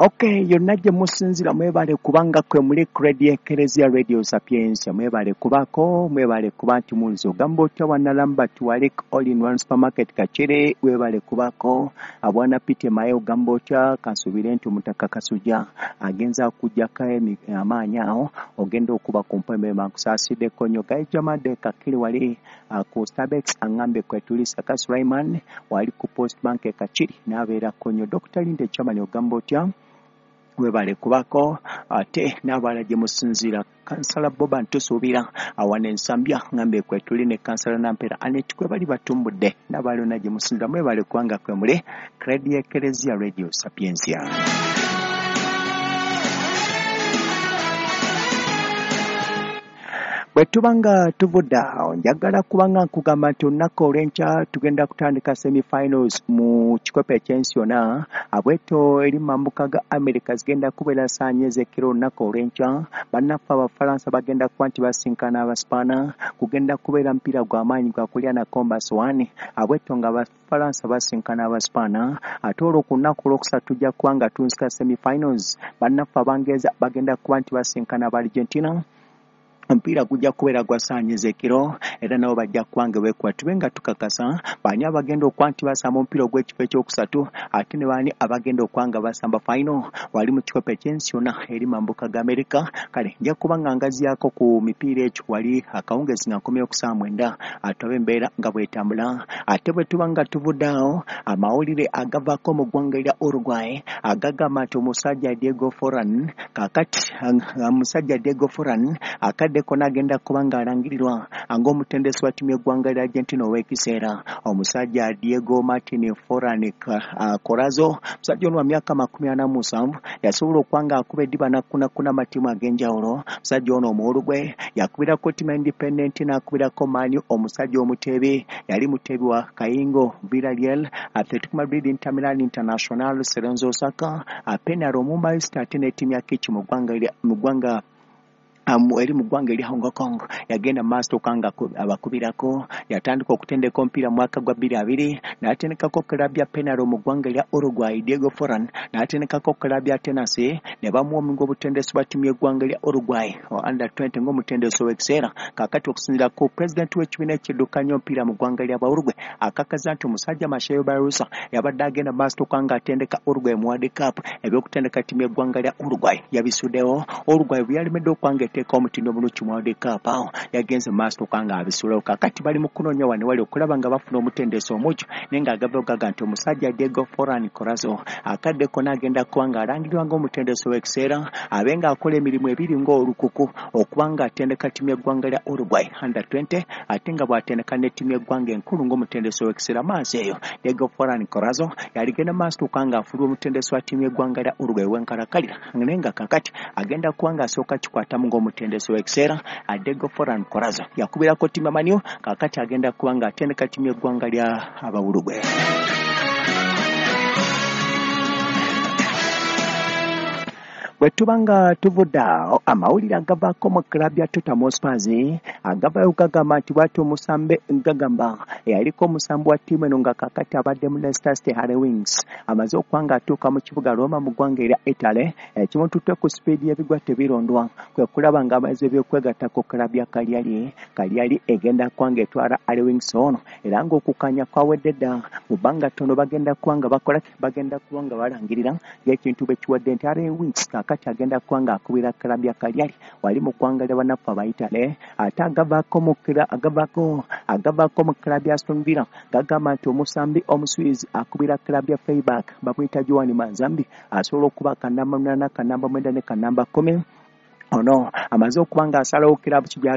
Okay, yonna gye musinzira mwebale kubanga kwe muli Radio Ekereziya Radio Sapientia, mwebale kubako, mwebale kuba nti munzi ogamba otya wanalamba tuwalik all in one supermarket Kakire, webale kubako abwana Peter Maye ogamba otya kansubire nti omutaka Kasujja agenza kujjako amaanyi awo ogenda okuba ku mpembe nkusasiddeko nnyo Gaijamade Kakire wali ku Starbucks angambe kwetuli Saka Sulaiman wali ku Post Bank e Kakiri n'abeerako nnyo Dr. Linde Chairman ogamba otya webale kubako ate n'abalala gye musinziira Kansala Boba ntusuubira awana ensambya ngambe kwetuli ne Kansala Nampera Anet kwe bali batumbudde n'abalala gye musinziira mwebale kubanga kwe muli Radio Ekereziya Radio Sapientia. Bwe tubanga tuvudde awo njagala kubanga nkugamba nti olunaku olw'enkya tugenda kutandika semifinals mu kikopo eky'ensi yonna abweto eri mambuka ga America zigenda kubeera saanye ez'ekiro olunaku olw'enkya. Bannaffe Abafalansa bagenda kuba nti basinkana Abaspaana, kugenda kubeera mupiira gwa maanyi gwa kulya na Combas 1 abweto nga Abafalansa basinkana Abaspaana. Ate olwo ku lunaku olwokusatu tujja kuba nga tunsika semifinals, bannaffe Abangereza bagenda kuba nti basinkana aba Argentina, omupiira gujja kubeera gwa saanye ez'ekiro era nabo bajja kubanga beekuba tube nga tukakasa baani abagenda okuba nti basamba omupiira ogw'ekifo ekyokusatu ate ne baani abagenda okuba nga basamba final wali mu kikopo eky'ensi yonna eri mambuka ga Amerika. Kale nja kuba nga ngaziyaako ku mipiira ekyo wali akawungezi nga nkomyewo ku ssaawa 9 ate embeera nga bw'etambula. Ate bwe tuba nga tuvudde awo amawulire agavaako mu ggwanga erya Uruguay agagamba nti omusajja Diego Forlan kaakati omusajja Diego Forlan akadde kona agenda kuba ng'alangirirwa ng'omutendesi wa ttiimu y'eggwanga lya Argentina ow'ekiseera omusajja Diego Martin Forlan Corazzo. Omusajja ono wa myaka 47 yasobola okuba ng'akuba eddiba n'akkunakuna amatiimu ag'enjawulo. Omusajja ono omuwulugwe yakubirako ttiimu ya Independent n'akubirako Man U. Omusajja omuteebi yali muteebi wa Kayingo, Villarreal, Atletico Madrid, Inter Milan, International, Cerezo Osaka, Peñarol, Mumbai City ate ne ttiimu ya Kitch mu ggwanga eri mu ggwanga erya Hong Kong. Yagenda maaso okanga abakubirako, yatandika okutendeka omupiira mu mwaka gwa 2020 n'atendekako club ya Peñarol mu ggwanga erya Uruguay Diego Forlan, n'atendekako club ya Tennessee ne bamuwa omulimu gw'obutendesi bwa ttiimu y'eggwanga erya Uruguay under 20 ng'omutendesi ow'ekiseera. Kaakati okusinziira ku pulezidenti w'ekibiina ekiddukanya omupiira mu ggwanga lya Uruguay akakaza nti omusajja Marcelo Bielsa yabadde agenda maaso okanga atendeka Uruguay mu World Cup, ebyokutendeka ttiimu y'eggwanga lya Uruguay yabisuddewo. Uruguay bwe yalemedde okwanga etteeka omutindo omulungi mu World Cup awo yagenze maaso okanga abisulawo. Kaakati bali mu kunoonya wano wali okulaba nga bafuna omutendesi omujju naye ng'agava gaga nti omusajja Diego Forlan Corazzo akadde konna agenda kuba ng'alangirirwa ng'omutendesi ow'ekiseera abe ng'akola emirimu ebiri ng'olukuku okuba ng'atendeka ttiimu y'eggwanga lya Uruguay under 20 ate nga bw'atendeka ne ttiimu y'eggwanga enkulu ng'omutendesi ow'ekiseera. Maaso eyo Diego Forlan Corazzo yaligenda maaso okanga afulwa omutendesi wa ttiimu y'eggwanga lya Uruguay w'enkalakalira naye nga kaakati agenda kuba ng'asooka kikwatamu ng'omutendesi ow'ekiseera. Diego Forlan Corazzo yakubirako ttiimu ya Man U, kaakati agenda kuba ng'atendeka ttiimu y'eggwanga lya Abawuruguay. Bwe tuba nga tuvudde awo amawulire agavaako mu club ya Tottenham Hotspur agavayo gagamba nti bw'atyo omusambe gagamba eyaliko omusambi wa ttiimu eno nga kaakati abadde mu Leicester City Harry Winks amaze okuba ng'atuuka mu kibuga Roma mu ggwanga erya Italy ekimututte ku sipiidi y'ebigwa tebirondwa kwe kulaba ng'amaze ebyokwegatta ku club ya Cagliari. Cagliari egenda kuba ng'etwala Harry Winks ono era ng'okukkaanya kwawedde dda mu bbanga ttono bagenda kuba nga bakola bagenda kuba nga balangirira ng'ekintu bwe kiwadde nti Harry Winks kaakati agenda kuba ng'akubira club ya Cagliari wali mu ggwanga lya bannaffe Abayitale. Ate agavaako mu club ya Aston Villa gagamba nti omusambi Omuswizi akubira club ya Freiburg bamuyita Joan Manzambi asobola okuba kanamba 8, kanamba 9 ne kanamba 10. Ono amaze okuba ng'asalawo kiraabu ki gy'agenda.